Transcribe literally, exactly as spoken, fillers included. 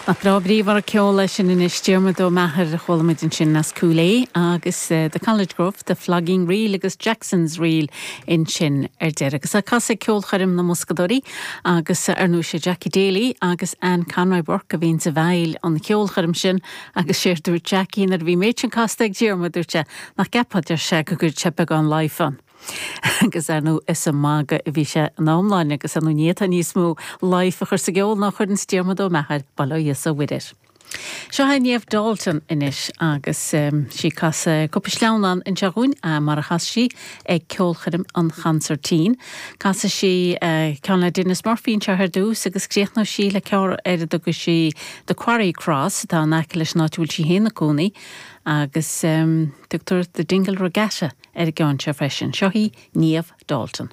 Nach breá bríomhar an ceol é sin anois Diarmuid Ó Meachair a chuala muid ansin as Cúil Aodha agus uh, The College Gruff, The Flogging Reel agus Jackson's Reel ansin ar deireadh. Agus a casadh ceolchoirm na mBoscadóirí agus ar ndóigh sé Jackie Daly agus Anne Conroy Burke a bhíonn i bhfeighil an cheolchoirm sin agus sé dúirt Jackie nuair a bhí méid sin casta ag Diarmuid dúirt sé nach gceapfá deir sé go gcuirfeadh sé beagán life ann. agus ar ndóigh is ag magadh a bhí sé in iomláine agus an níota níos mó life a chur sa gceol ná chuireann Diarmuid Ó Meachair bail ó Dhia is ó Mhuire air. Seo é Niamh Dalton anois agus um, sí ag casadh cúpla sleamhnán anseo dhúinn uh, mar a chas sí ag ceolchoirm an Chonsairtín. Casfaidh sí uh, ceann le Denis Murphy anseo ar dtús agus críochnóidh sí le ceann ar a dtugann sí The Quarry Cross atá in aice leis an áit a bhfuil sí féin ina cónaí agus um, tugtar The Dingle Regatta ar an gceann seo freisin. Seo í Niamh Dalton.